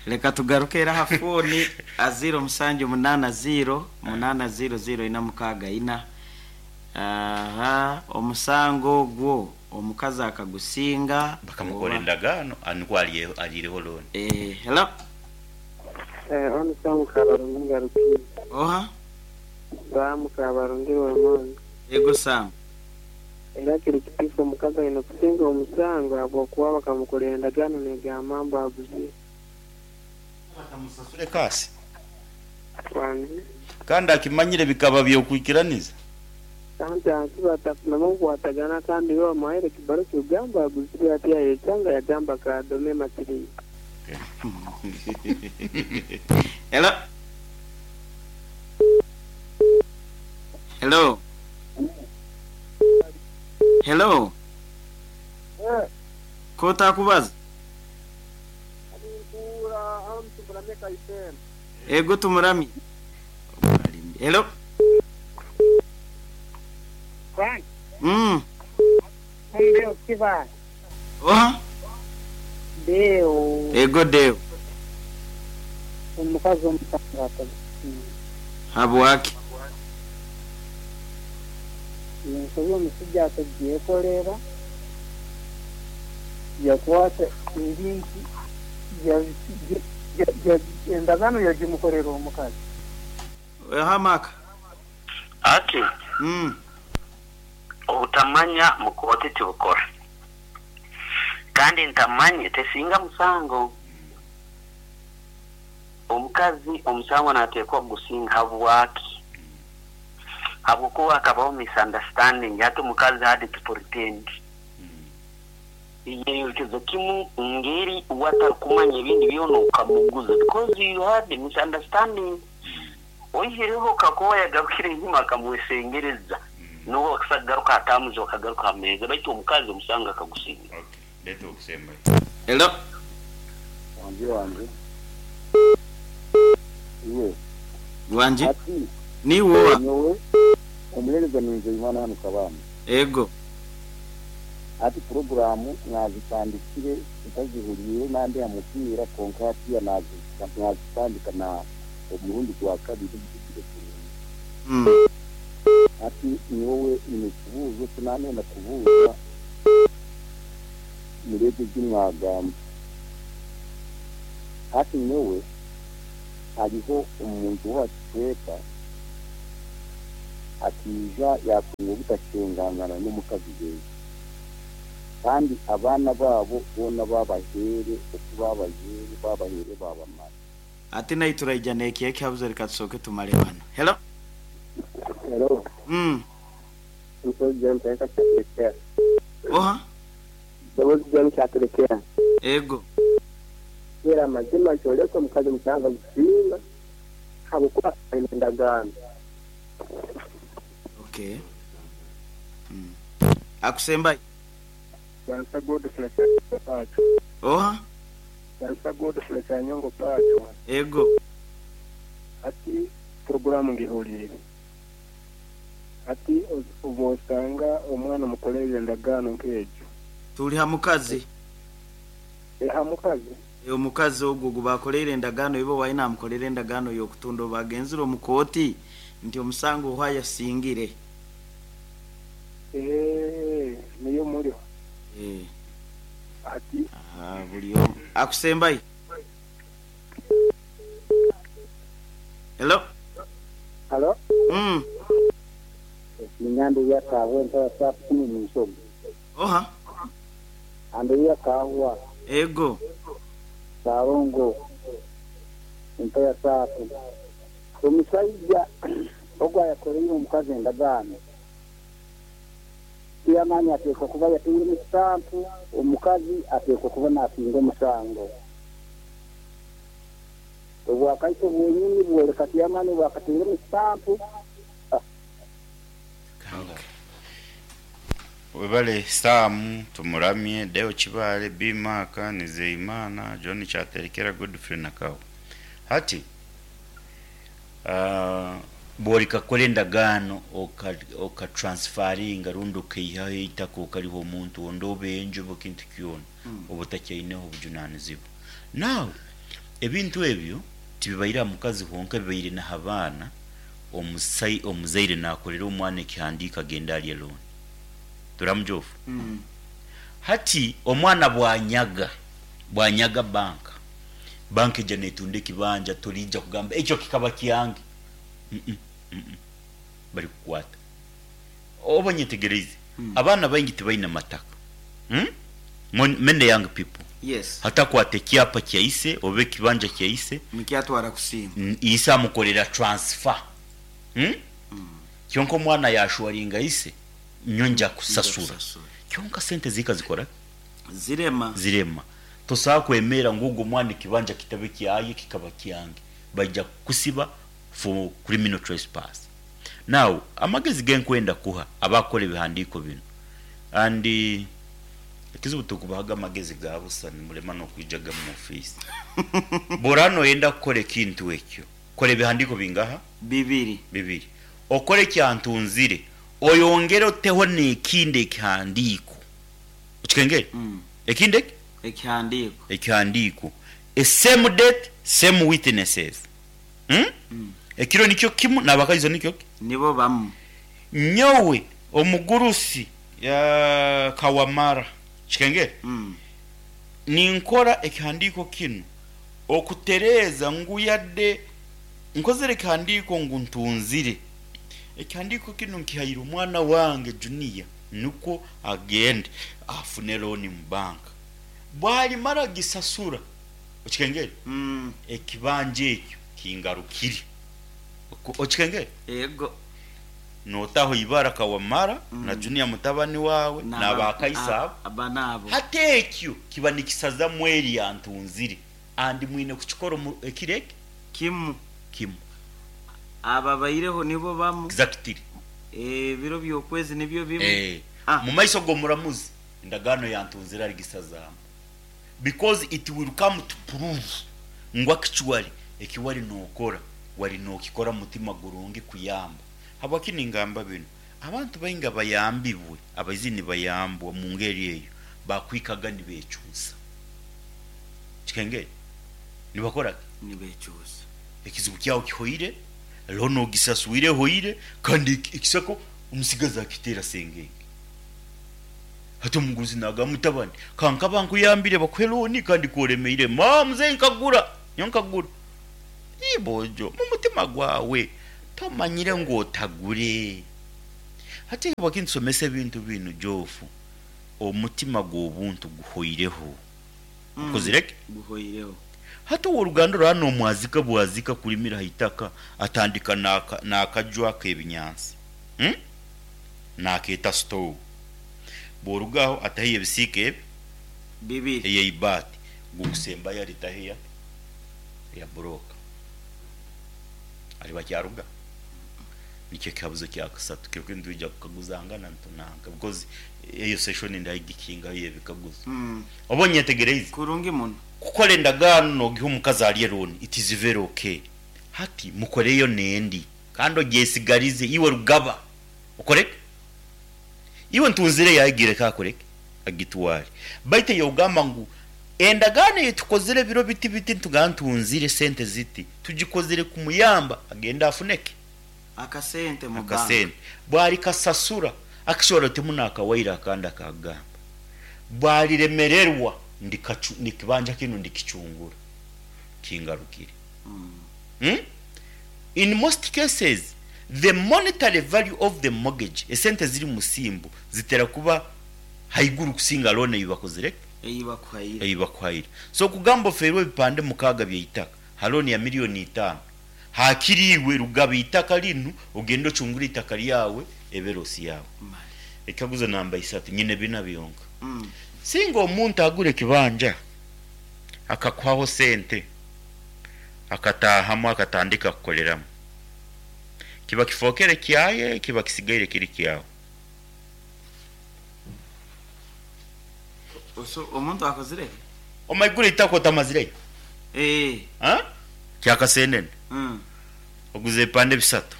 leka tugaruke era aha fooni a ziiro musanju munaana ziiro munaana ziiro ziiro ina mukaaga ina. Aha omusango ogwo omukazi akagusinga Bakamukora oba? endagaano nikwo ariireho loan. Eh, hello. Eh, onu Sam Kabarungi ngarukire. Oha? Sam Kabarungi Rwemonzi. Ego Sam. Era kiri kituufu omukazi aine kusinga omusango ahabw'okuba bakamukorera endagaano negamba mbu aguzire. Batamusasure kaasi. Wangi. Kandi akimanyire bikaba by'okwikiraniza. Kandi ati batafunamu okukwatagana kandi bo bamuhaire ekibaruha kikugamba aguzire ati yayecanga yagamba kadome material. Hello. Hello. Hello. Kotakubaza? Ego tumuramye. Hello. Oha? Deo. Ego Deo. Omukazi omusango atagusinga. Habwaki? Ensobi omushaija akagyekorera, yakwata ebintu endagaano yagimukorera omukazi. Oha Mark? Ati, Obutamanya mu kooti tibukora. Kandi ntamanye tesinga musango. Omukazi omusango nateekwa kugusinga habwaki? Habwokuba hakabaho misunderstanding hati omukazi had to pretend. Yeyorekeza kimu ngeri we atarikumanya ebindi byona okamuguza because you had a misunderstanding. Oihireho kakuba yagarukire enyima akamwesengereza n'obu akusa kugaruka aha terms bakagaruka aha meeza baitu omukazi omusango akagusinga. Okay, leeta okusembayo. Hello. Wangi wangi. Iwe. Wangi. Ati. Niiwe oha? Nyowe omuheereza ni Nzeyimana hanu Kabamba. Ego. Hati puroguraamu mwazitandikire ntazihuriire nandi aha mupiira kwonka hatiiya mwazitandika na omurundi gwa kabiri mpugire kurungi. Hati nyowe nyine ekibuuzo eki naanenda kubuuza muri ebyo ebi mwagamba. Hati nyowe Hariho omuntu w'aha kicweka akaija yaatunga obutakyengangana n'omukazi we, kandi abaana baabo boona baabaheere oku baabazeere, baabaheere baabamara. Ati naitwe turaija n'eki ekihabuzo reka tusooke tumare banu. Hello. Hello. Mukozi John Kyaterekera. Oha? Mukozi John Kyaterekera. Ego. Era amazima kyoreka omukazi omusango agusinga ahabw'okuba aine endagaano. Okay. Akusembayo. Barisa Godfrey Kyanyongo Pacho. Oha? Barisa Godfrey Kyanyongo Pacho. Ego. Hati puroguraamu ngihuriire. Hati obu osanga omwana omukoreire endagaano nk'egyo. Turi ha mukazi. Ha mukazi. Omukazi ogwo ogu baakoreire endagaano iba owaaye naamukorera endagaano y'okutunda obu agenzire omu kooti nti omusango ohu ayasingire. Eeh niyo muriho. Eeh. Hati. Aha buri omwe akusembayo. Hello. Halo. Niinyambe Kaahwa entara saaha kumi n'ishatu. Oha? Andereya Kaahwa. Ego. Ssalongo entara saatu. Omusaija ogu ayakoreire omukazi endagaano, tiyamanya ateekwa kuba yatairemu sitampu, omukazi ateekwa kuba naasinga omusango. Obwakaiso bwenyini bwoleka tiyamani obu akatairemu sitampu. Webale Sam Tumuramye, Deo Kibaale, B Mark, Nizeyimana, John Kyaterekera, Godfrey Nakawa. Hati bworika kukora endagaano oka transferringa rundi okaihaho eitaka okariha omuntu ondi oba enju oba ekintu kyona oba otakyaineho obujunanizibwa. Now ebintu ebyo tibibaire aha mukazi honka bibaire naha baana, omuzaire nakorera omwana ekihandiiko agende arye loan. Turamujofu. Hati omwana bwanyaga, bwanyaga bank, bank eija netunda ekibanja toriija kugamba ekyo kikaba kyange. Mm mm bari kukwata. Oba onyetegereize? Abaana baingi tibaine mataka. Many young people. Yes. Hati akwata ekyapa kya ise oba ekibanja kya ise. Nikyo atwara kusiima. Ise amukorera transfer. Kyonka omwana yashwaringa ise, nyowe nja kusasura. Kyonka sente zihika zikora ki? Zirema. Zirema. Tosobola kwemera ngu ogu omwana ekibanja kitabe kyaye kikaba kyange. Baija kukusiba for criminal trespass. Now, amagezi genkwenda kuha abakukora ebihandiiko binu and ekizibu tikubahaga amagezi ga busa nimurema nokwijaga mu office. Bworaba noyenda kukora ekintu ekyo, kora ebihandiiko bingaha? Bibiri. Bibiri. Okore ekyantunzire, oyongere oteho nekindi ekihandiiko. Okikengere? Ekindi eki? Ekihandiiko. Ekihandiiko. A same date, same witnesses. Ekiro nikyo kimu n'abakaiso nikyo ki? Nibo bamu. Nyowe omugurusi Kawamara, kikengere? Ninkora ekihandiiko kinu okutereeza ngu yadde nkozere ekihandiiko ngu ntunzire. Ekihandiiko kinu nkihaire omwana wange Junior nukwo agende afune looni mu banka. Bwalimara gisasura, okikengere? Ekibanja ekyo kingarukire. Okikengere? Ego. Notaho ibara Kawamara na Junior mutabani wawe n'abakaiso abo. Aba n'abo. Hati ekyo kiba nikisazamu eri yantunzire and mwine kukikora omu ekiro eki? Kimu. Kimu. Ababaireho nibo bamu. Exactly. Ebiro by'okwezi nibyo bimu. Eh. Ah. Mu maiso g'omuramuzi endagaano yantunzire arigisazaamu because it will come to prove ngu actually eki wari nokora wari nokikora mumutima gurungi kuyamba. Habwaki ningamba binu? Abantu baingi abayambibwe abaizire nibayambwa mungeri eyo bakwikaga nibecuusa. Kikengeri? Nibakora ki? Nibecuusa. Ekizibu kyawe kihoire, loan ogisaswire ehoire kandi ekisako omusigazi akiteera sengenge. Hati omuguzi nagamba mutabani kankaba nkuyambire bakuhe loan kandi ku oremeire maa mzee nkagura nyowe nkagura. Ii boojo, mu mutima gwawe tomanyire ngu otagure. Hati habwaki nitusomesa ebintu binu Geoff, omutima gw'obuntu guhoireho. Okozire ki? Guhoireho. Hati ow'oruganda oraba nomwazika bwazika kurimira ha itaka atandika n'akaju ak'ebinyansi hmm? Nakeeta store. Bw'oruga aho ataheyo ebisiika ebi Bibiri. ey'eibaati, gukusembayo aritaho eya eya buroka. Ariba akyaruga? Nikyo ekihabuzo kya kasatu kiro kinu nitwija kukaguzangana nitunanka because eyo session ndagikingaho ey'ebikaguzo. Oba onyetegereize? Kurungi muno. Kukora endagaano nogiha omukazi arye loan it is very okay. Hati mukoreyo nendi kandi ogyesigarize iwe rugaba okoreki? Iwe ntunzire eyawe gireke akoreki? Agitware. Baitu eyogamba ngu endagaano eyitukozire ebiro biti biti nitugamba ntunzire sente ziti tugikozire kumuyamba agende afune ki? Akasente mu bank. Akasente. Bwarikasasura akishobora otemu nakawaire akandi akagamba bwariremererwa ndikacu ekibanja kinu ndikicungura kingarukire. Hmm? In most cases the monetary value of the mortgage, esente eziri musimbu zitera kuba haiguru kusinga loan eyi bakozire ki? Eyi bakuhaire. Eyi bakuhaire. So kugamba ofeerwe ebipande mukaaga by'eitaka ha loan ya million itaano, hakiri iwe rugaba eitaka rinu ogende ocungure eitaka ryawe ebe loss yaawe. Ekikaguzo namba isatu, nyine bina byonka. Singa omuntu agura ekibanja akakuhaho sente akataahamu akatandika kukoreramu, kiba kifookere kyaye, kiba kisigaire kiri kyawe? So omuntu akozire ki? Omaigura eitaka otamazireyo? Eeh. Ha? Kya kasentene. Mm. Oguze ebipande bisatu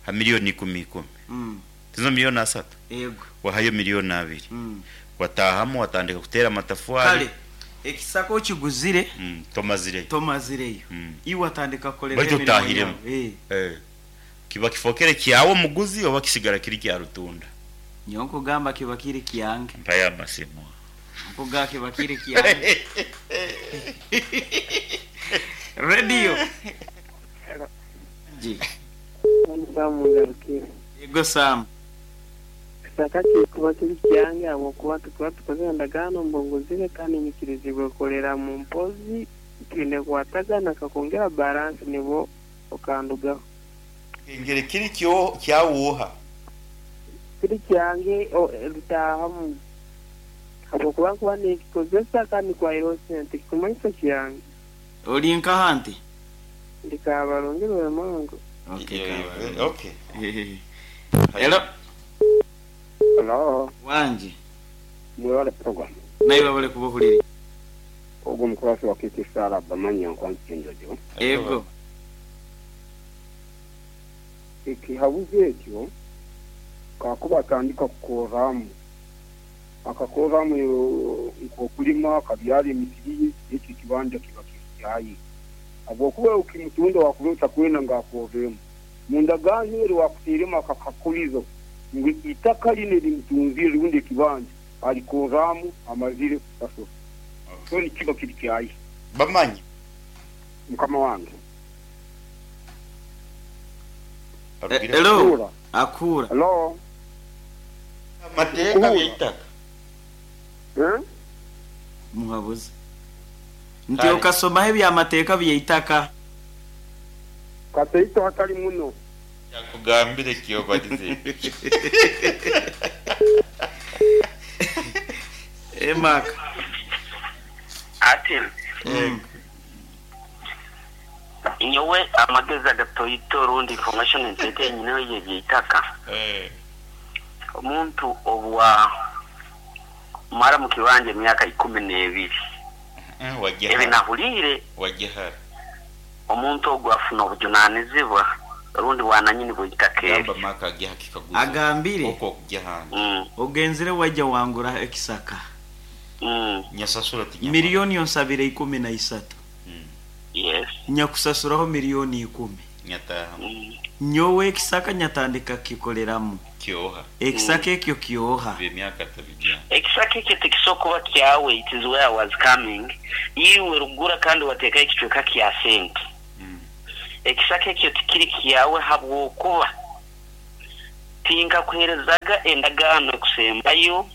ha milioni ikumi ikumi. Mm. Tizo milioni asatu? Ego. Wahayo milioni abiri. Mm. Wataahamu watandika kuteera amatafwari. Kale ekisaka okiguzire. Mm, tomazireyo. Tomazireyo. Mm. Iwe watandika kukoreraho Baitu emirimo otahiremu. yawe. Eh. Eh. Kiba kifokere kyawe omuguzi oba kisigara kiri kya rutunda? Nyowe nkugamba kiba kiri kyange. Mpayo amasimu. Nkugamba kiba kiri kyange. Radio. Ji. Sam Ngarukire. Yego Sam. Ekisaka kikuba kiri kyange ahabw'okuba tukuba tukozire endagaano mbu nguzire kandi nyikirizibwe kukoreramu mpozi twine kukwatagana nkakwongera baransi nibwo okandugaho. Engeri kiri kyawe oha? Kiri kyange rutaahamu ahabw'okuba nkuba ninkikozesa kandi nkwaireho sente kikumanyisa kyange. Ori nkaha nti? Ndi Kabarungi Rwemango. Okay, Kabarungi. Okay. Hello. Hello. Wangi. Mwebale program. Naiwe webale kuba ohurire. Ogwo omukurasi wa KK Sarah Bamanya nkwanzi Kyenjojo. Ego. Ekihabuzo ekyo kakuba atandika kukorramu, akakorramu nk'okulima, akabyara emisiri ye, ekyo ekibanja kiba kiri kyaye. Habwokuba okimutunda wakuba otakwenda ngu akorremu. Mu ndagaano eri wakuteiremu akakakulizo ngu itaka linu eri mutunzire rundi ekibanja alikorramu amazire kusasura. So nikiba kiri kyaye. Bamanya. Mukama wange. Hello. Kuhura. Akuhura. Hello. Amateeka Kuhura. by'eitaka. Eh? Muhabuze. Nti Kale. okasomaho eby'amateeka by'eitaka. Kateito hatali muno. Yakugambire ki obalize? Eh, Mark. Ati nyowe amagezi agatoito rundi information nteete nyineho y'eby'eitaka. Omuntu obwa mara mu kibanja emyaka 12 ebi nahuliire Wagihara. omuntu ogwo afuna obujunanizibwa rundi bwananyini bw'eitaka Gamba eryo. Mark agiha kikaguzo. Agambire. Okwo okugihanda. Ogenzire waija wangura ekisaka. Nyasasura tinyamara. Milioni onsabire 13. Yes. Nyakusasuraho milioni 10. Nyatahamu. Nyowe ekisaka nyatandika kukikoreramu. Kyoha. Ekisaka ekyo kyoha. By'emyaka tabijana. Ekisaka ekyo tikisobola kuba kyawe, it is where I was coming. Iwe rugura kandi wateekaho ekicweka kya sente. Ekisaka ekyo tikiri kyawe habwokuba tinkakuheerezaga endagaano ekusembayo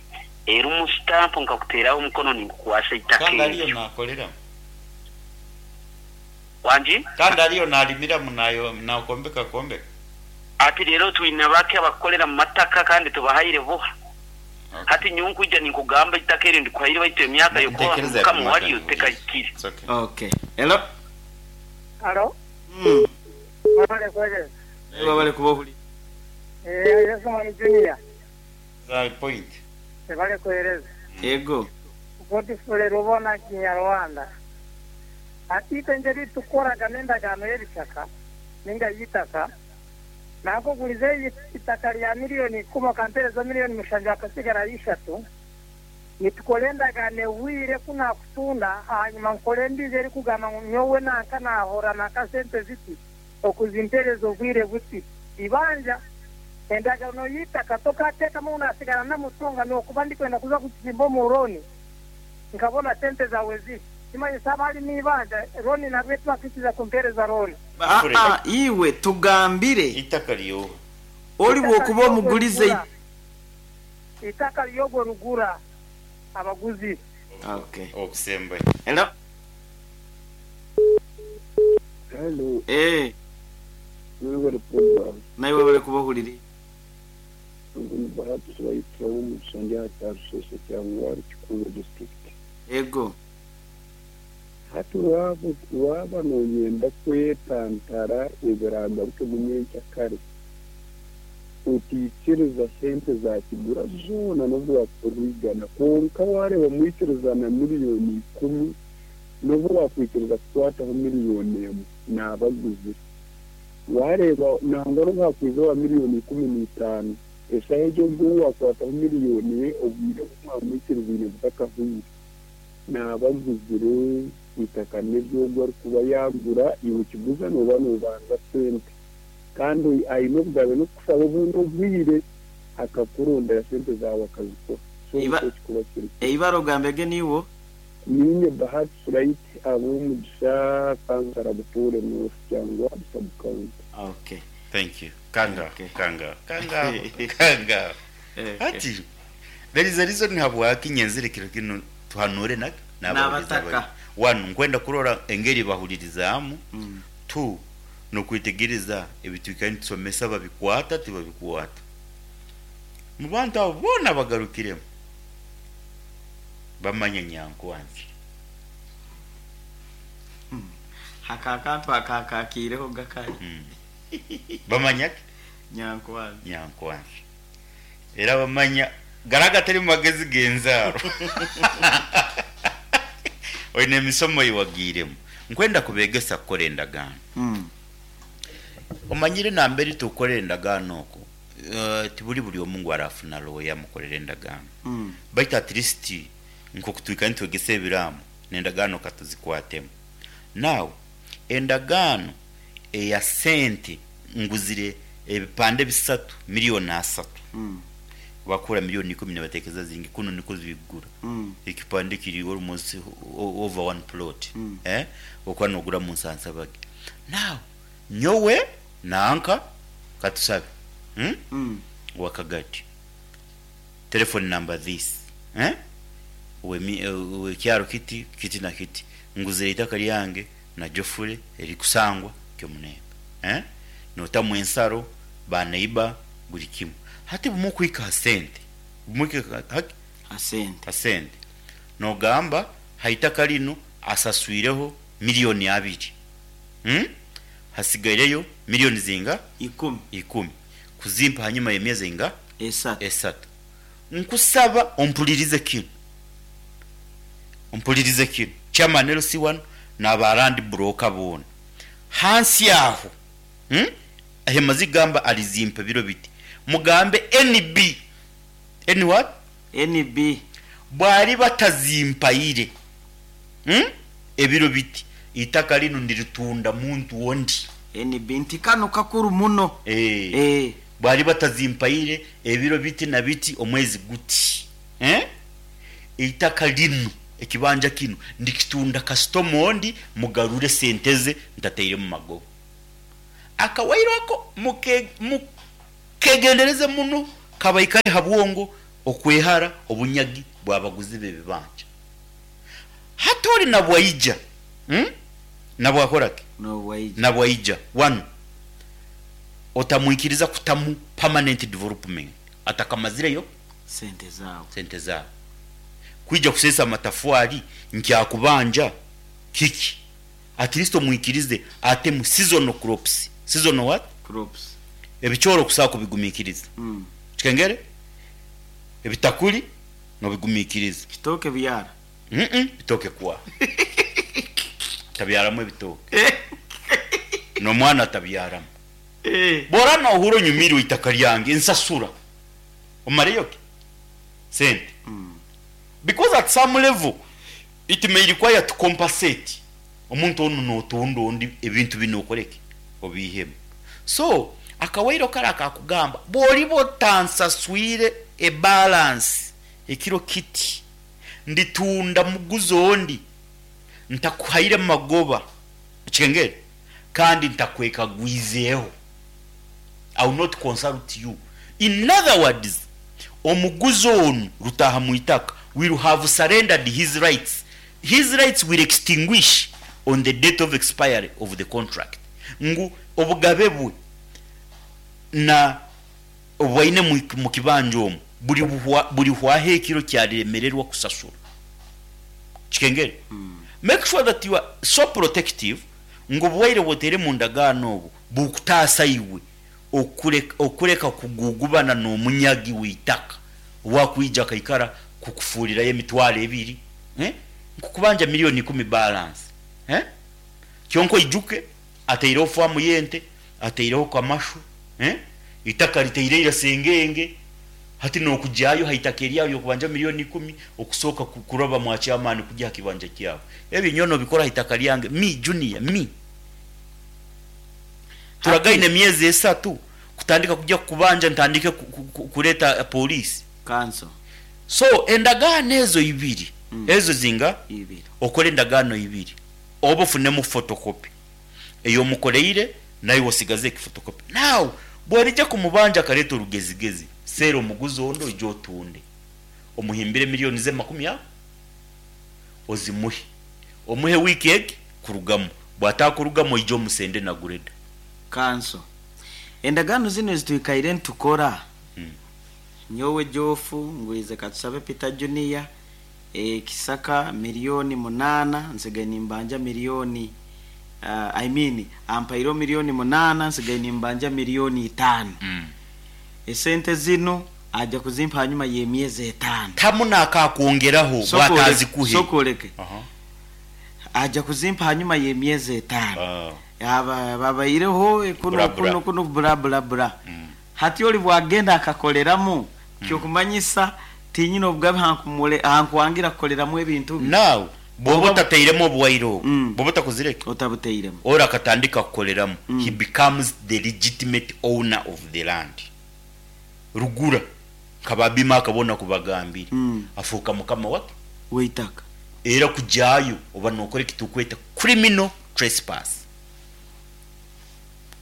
erimu sitampu nkakuteeraho omukono ninkukwasa eitaka Kandi ariyo eryo. naakoreramu. Wangi? Kandi ariyo naarimiramu naakombeka kombeka. Hati reero twine bake abakukorera mu mataka kandi tubahaire buha. Hati nyowe nkwija ninkugamba eitaka eri ndikuhaire baitu emyaka y'okuba Ntekereza mukama yakumata waryo nihurira. tekahikire. It's okay. Okay. Hello. Halo, mwebale kuweereza. Naiwe webale kuba ohuriire. Eh, Yesu Mwami Junior, Za point. mwebale kuweereza. Yego. Godfrey Rubona Kinyarwanda. Hati itwe engeri tukoraga n'endagaano y'ebishaka ninga y'eitaka, nankugurize eitaka rya miriyoni ikumi okampereza miriyoni mushanju hakasigarayo ishatu, nitukora endagaano ehweire ku naakutunda ahanyima nkore endiijo erikugamba ngu nyowe nanka naahora nanka sente ziti okuzimpereza obwire buti. Eibanja, endagaano y'eitaka tokaateekamu ngu naasigara namutunga n'okuba ndikwenda kuza kukizimba omu looni nkabona sente zaawe ziti. Kimanyisa haaba harimu eibanja, looni nabwo tibakwikiriza kumpereza looni. Aa, iwe tugambire. Eitaka ry'oha? Ori bw'okuba omugurize. Eitaka ry'ogwo rugura abaguzi. Okay. Okusembayo. Hello. Hello, Eh, mwebale program. naiwe webale kuba ohurire. Ngu ni Bahati Sibaitira w'omugisha ndi aha kya Ruseshe Kyangwari Kikuube district. Ego. Hati waaba waaba noyenda kwetantara ebiragarukemu nyenkyakare, otaikiriza sente za kigura zoona n'obu waakukora igana kwonka waareeba mwikirizana miriyoni ikumi n'obu waakwikiriza kukwataho miriyoni emwe naaba aguzire. Waareeba nangwa n'obu haakwiza owa miriyoni 15, eshaaha egyo ogwo ou waakwataho miriyoni ye obwire obu mwamwikirizaine butakahweire, naaba aguzire eitaka n'ery'ogwo arikuba yaagura, iwe kiguza nooba noobanza sente. Kandi aine obugabe n'okukushaba obundi obwire akakurondera sente zaawe akazikuha. So nikwo kikuba kiri. Eibara ogambege niiwe? Niinye Bahati Sulait Ab'omugisha Kansara Butuure North Kyangwali Sub County. Okay. Thank you. Kanga, Okay. kanga, kanga, kanga. Okay. Hati, there is a reason habwaki nyenzire kiro kinu tuhanure na n'abahuriza N'abataka. bari. One, nkwenda kurora engeri bahulirizaamu. Two, n'okwetegereza ebitwikara nitusomesa babikwata tibabikwata. Mu bantu abo boona bagarukiremu bamanya nyankwanzi. Haka akantu akakakiireho gakari. Bamanya ki? Nyankwanzi. Nyankwanzi. Era bamanya gara agatari mu magezi g'enzaaro. Oine emisomo ei wagiiremu. Nkwenda kubeegesa kukora endagaano. Omanyire nambere tukukorera endagaano oku, tiburi buri omwe ngu arafuna lawyer amukorere endagaano. Baitu at least nk'oku twikara nitwegesa ebiraamo, n'endagaano katuzikwatemu. Now, endagaano eya sente nguzire ebipande bisatu miriyoni asatu. Bakuura miriyoni ikumi nibateekereza zingi kunu nikwo zirikugura. Ekipande kiri almost over one plot. Okuba noogura omu Nsansabage. Now, nyowe nanka katusabe owakagati telephone number this owekyaro kiti kiti na kiti nguzire eitaka ryange na Geoffrey erikusangwa Kyomunembe notamu ensaro ba neighbour buri kimwe. Hati bumwe okuhika ha sente bumwe okuhika haki? Ha sente. Ha sente nogamba ha itaka rinu asaswireho miriyoni abiri. Hasigaireyo miriyoni zinga? Ikumi. Ikumi. Kuzimpa hanyuma y'emyezi einga? Esatu. Esatu. Nkusaba ompulirize kinu. Ompulirize kinu. Chairman LC wanu n'aba land broker boona. Hansi aho, ahi kugamba arizimpa ebiro biti, mugambe NB, N what? NB. Bwariba atazimpaire, ebiro biti, eitaka rinu ndiritunda muntu ondi. NB, Nti kanu kakuru muno. Eeh. Bwariba atazimpaire ebiro biti na biti omwezi guti, eitaka rinu, ekibanja kinu, ndikitunda kasitoma ondi, mugarure sente ze ntatairemu magoba. Akawairo ako muke mukegendereze muno kabaikare ha bwongo okwehara obunyagi bw'abaguzi b'ebibanja. Hati ori nabwaija, hmm? Nabwakora ki? Nobwaija. Nabwaija wanu otamwikiriza kutamu permanent development atakamazireyo Sente zaawe. sente zaawe. Kwija kuseesa amatafwari nkyakubanja kiki? At least omwikirize atemu seasonal crops. Seasonal what? Crops. Ebicoori okusobola kubigumiikiriza. Kikengere? Ebitakuri nobigumiikiriza. Kitooke byara. Mm bitooke kwa. Tabyaramu ebitooke. N'omwana atabyaramu. Bw'oraba nohurra onyumiirwe eitaka ryange, nsasura. Omareyo ki? Sente. Because at some level, it may require to compensate omuntu onu notunda ondi ebintu binu okore ki? Obiihemu. So, akawairo kare akakugamba bworiba otansaswire e balance ekiro kiti, nditunda muguze ondi ntakuhaire magoba, okikengere? Kandi ntakwekagwizeeho. I will not consult you. In other words, omuguzi onu rutaaha mu itaka will have surrendered his rights, his rights will extinguish on the date of expiry of the contract, ngu obugabe bwe na obu aine mu kibanja omu burihwaho ekiro ki ariremererwa kusasura. Kikengere? Make sure that you are so protective ngu obuwaire obu oteire mu ndagaano obwo bukutaasa iwe okureka kugugubana n'omunyagi w'eitaka owaakwija akaikara kukufuurirayo emitwaro ebiri, nkukubanja milioni ikumi balance. Kyonka oijuke ataireho faamu y'ente, ataireho kamashu, eitaka ritaire ira sengenge, hati n'okugyayo ha itaka eryawe ry'okubanja milioni ikumi okusooka kuraba mwa chairman kugya ha kibanja kyawe. Ebyo nyowe nobikora ha itaka ryange, me Junior, me. Turagaine emyezi esatu kutandika kugya kukubanja ntandike kureeta police. Kanso. So endagaano ezo ibiri, ezo zinga? Ibiri. Okore endagaano ibiri oba ofunemu photocopy eyomukoreire naiwe osigaze eki photocopy. Now bworija kumubanja akareeta orugezigezi, seera omuguzi ondi oije otunde. Omuhimbire million ze makumi abo ozimuhe. Omuhe wiiki egi kurugamu. Bwatakurugamu oije omusende na greda. Kanso. Endagaano zinu ezitwikaire nitukora, nyowe Geoff ngwize Katusabe Peter Junior, ekisaka milioni munaana nsigaire nimbanja milioni, I mean ampaireho milioni munaana nsigaire nimbanja milioni itaano. Esente zinu aja kuzimpa hanyuma y'emyezi etaano. Tamu n'akakwongeraho bw'ataazikuhe. Sooka oleke. Aja kuzimpa hanyuma y'emyezi etaano. Babaireho kunu kunu kunu bla bla bla. Hati ori bwagenda akakoreramu, ky'okumanyisa tinyine obugabe hankwangira kukoreramu ebintu bye. Now bwoba otatairemu obuwaire obu, bwoba otakozire ki? Otabutairemu. Ori akatandika kukoreramu, he becomes the legitimate owner of the land. Rugura nka ba Bimaaka boona ku bagambire, afuuka mukama waki? W'eitaka. Era kugyayo oba nokora eki turikweta criminal trespass.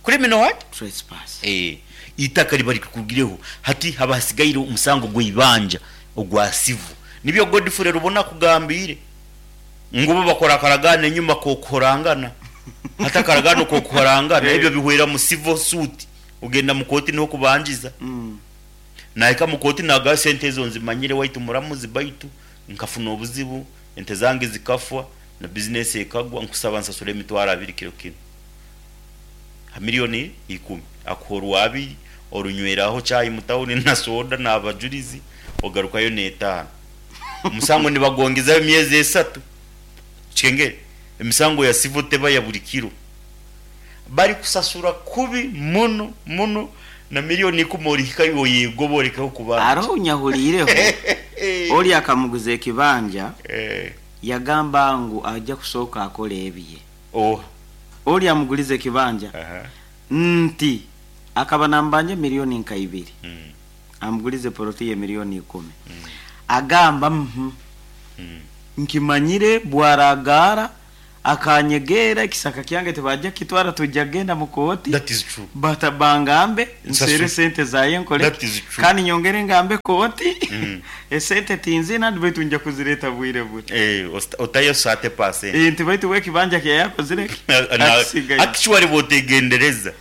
Criminal what? Trespass. Eeh, eitaka riba rikurugireho hati haba hasigaire omusango gw'eibanja ogwa civil. Nibyo Godfrey Rubona akugambiire ngu bo bakora akaragaano enyima k'okuhorangana. Hati akaragaano k'okuhorangana ebyo bihwera mu civil suit, ogenda mu kooti niho okubangiza. Nahika mu kooti nagamba sente ezo nzimanyire waitu muramuzi baitu nkafuna obuzibu, ente zange zikafwa na bizinesi ekagwa, nkusaba nsasure emitwaro abiri kiro kinu. Ha milioni ikumi akuha orwa abiri, orunyweraho chai mu tauni na soda n'abajurizi, ogarukayo n'etaano. Omusango nibagwongezaho emyezi esatu. Okikengere? Emisango ya civil teba ya buri kiro. Barikusasura kubi muno muno na milioni ikumi orihikayo oyegobe orekeho kubanja. Haroho ou nyahuriireho, ori akamuguza ekibanja, yagamba ngu aija kusooka akole ebye. Oha? Ori amugulize ekibanja nti akaba namubanja milioni nka ibiri, amugulize poloti ye milioni ikumi. Agamba, Uhmm, nkimanyire bwaragaara. Akanyegeera ekisaka kyange tibajja kukitwara twija kugenda mu kooti That is true. bata bangambe nseere Nsasure. sente zaye nkole That is true. kandi nyongere ngambe kooti esente tinzina baitu nja kuzireeta bwire buti. Eh, otayo 30%. Eh, nti baitu we ekibanja kyayakozire akisigaye. Actually bwotegendereza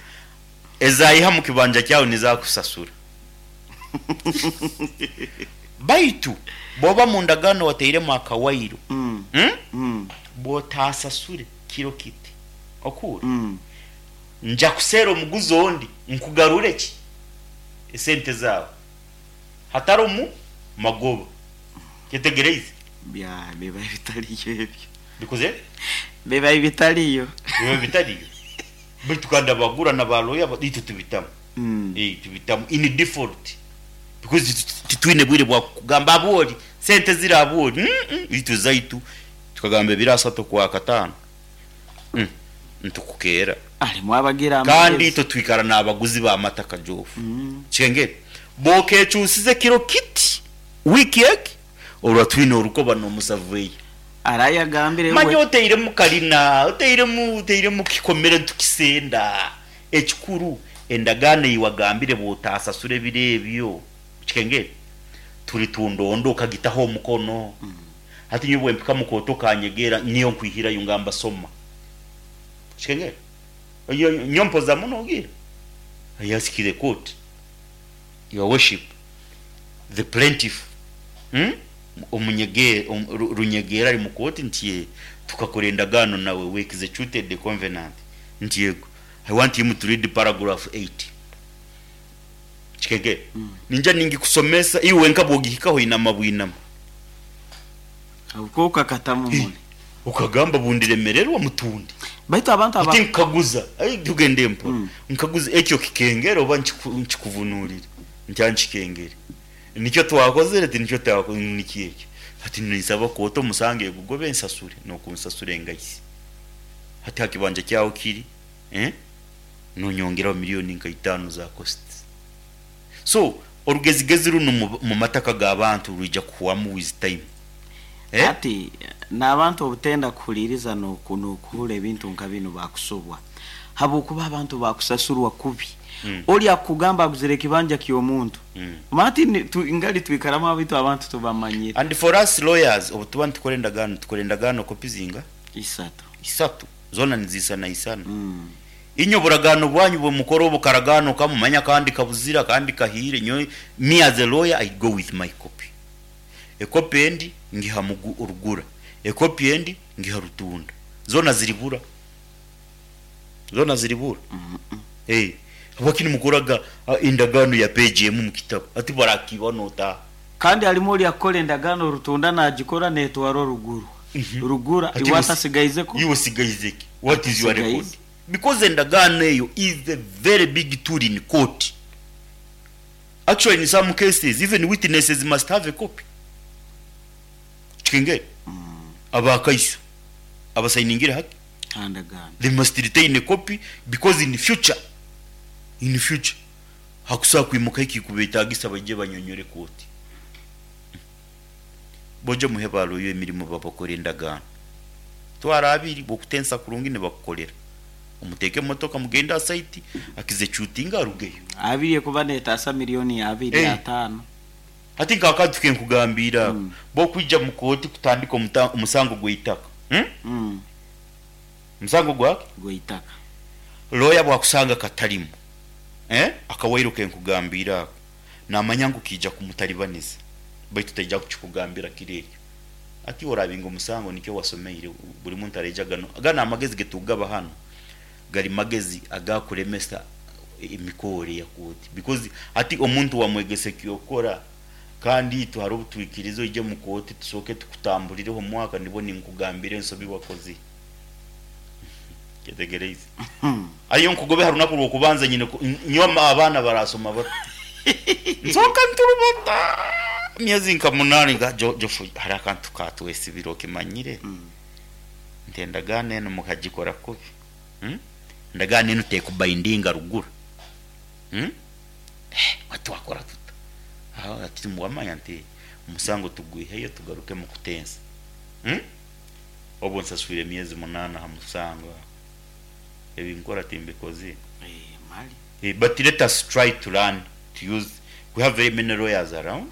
ezayiha mu kibanja kyawe nizakusasura baitu bwoba mu ndagaano wateiremu akawairo, Bwotasasure kiro kiti okuura, nja kuseera omuguzi ondi nkugarure ki esente zaawe hatarimu magoba. Kyetegereize? Bya biba bitariyo ebyo. Bikoze? Biba bitariyo. Biba bitariyo. Baitu kandi abagura na baloya itwe tubitamu. Eh, tubitamu in default because titwine bwire bwa kugamba abori sente ziri abori. Itwe zaitu tukagamba ebiro asatu kwa katano, ntukukeera. Arimu abagira kandi amagezi. Itwe twikara n'abaguzi b'amataka jofu. Kikengere bokekyusize kiro kiti wiki eki olwa twine orukoba n'omusavueyo. Arayagambire manya we. Oteiremu karina oteiremu kikomere ntukisenda ekikuru endagaano eyiwagambire bwotasasura ebiro ebyo. Kikengere turi tundondo okagitaho omukono. Hati nyowe bwempika mukoto kanyegera niyo nkwihirayo ngamba soma. Kikengere nyompoza muno ogira I ask the court, your worship, the plaintiff, Omunyege, Runyegera ari mu kooti nti ye tukakora endagaano nawe, we executed the covenant, nti yego, I want him to read paragraph 8. Kikege ninja ningikusomesa iwe wenka bwogihikaho inama bwinama. Ubwo ukakatamu mune. Ukagamba bundiremererwa mutundi. Baitu abantu aba ati nkaguza ai tugende mpo nkaguza ekyo kikengere oba nkikuvunurire nti ankikengere nicyo twakozere ati nicyo twakoze niki ekyo ati nisaba koto musange gugobe nsasure nokunsasure engayisi hati hakibanja kyawo kiri, eh, nonyongeraho miliyoni nka 5 za cost. So orugezigezi runo mu mataka g'abantu rwija kuhwamu with time, eh? Ati n'abantu obutenda kuhuliriza n'okuhura ebintu nka bino bakusobwa habwokuba abantu bakusasurwa kubi. Oli akugamba aguzire ekibanja ky'omuntu. Mati ngali twikaramu abitu abantu tubamanyire. And for us lawyers, obu tuba nitukora endagaano tukora endagaano kopi zinga? 3. 3 zona nizisana isana. Inyo buragano bwanyu bwe mukoro obukaragano kamumanya kandi kabuzira kandi kahire. Nyo me as a lawyer, I go with my copy. Ekopi endi ngiha mugu urugura, ekopi endi ngiha rutunda, zona ziribura, zona ziribura. Eh, wakini mukoraga indagano ya page emu mu kitabo ati barakiba nota. Kandi harimu oli akora endagaano rutunda nagikora netwara oruguru rugura. Ati iwe atasigaizeko. Iwe sigaizeki, what is your record? Asigaize. Because endagaano eyo is a very big tool in court. Actually, in some cases even witnesses must have a copy. Kikengere abakaiso abasayiningira haki handagaano they must retain a copy because in future hakusaa kwimuka ekikubetagisa bajje banyonyore kooti boje muhe baloyo emirimu babakora endagaano twara abiri bokutensa kurungi nibakukorera omuteeke emotoka mugende asaiti akizecutinga arugeyo. 2 ekuba netasa miliyoni 2 5. Ati nkakati nkugambira bokwija mu kooti kutandika omusango gw'eitaka, Musango gwake? Gw'eitaka. Lawyer bwakusanga katalimu, eh, akawairo kenkugambira ako namanya ngu kija kumutalibaniza baitu taija kukikugambira kiri ekyo ati orabinga omusango nikyo wasomeire. Buli muntu areja gano gana amagezi getugaba hano gari magezi agakuremesa emikore ya kooti because ati omuntu wamwegese kyokora kandi itwe hari obutwikirizo ije mu kooti tusooke tukutambulireho omwaka nibo ninkugambira ensobi wakoze. Ketegereize ayo nkugobe hari urunaku rwokubanza nyine nyo abaana barasoma bato nsoka nturubota myezi nka 8 nga jofu hari akantu katwesibira okimanyire nti endagaano eno mukagikora kubi, Endagaano eno tekubayindinga ruguru, Eh, watwakora tuta aho ati muwamanya nti omusango tugwiheyo tugaruke mu kutensa, Obwo nsaswire emyezi munaana aha musango aho. Ebi nkora timbikozire. Eh, mali. But let us try to learn to use, we have very many lawyers around.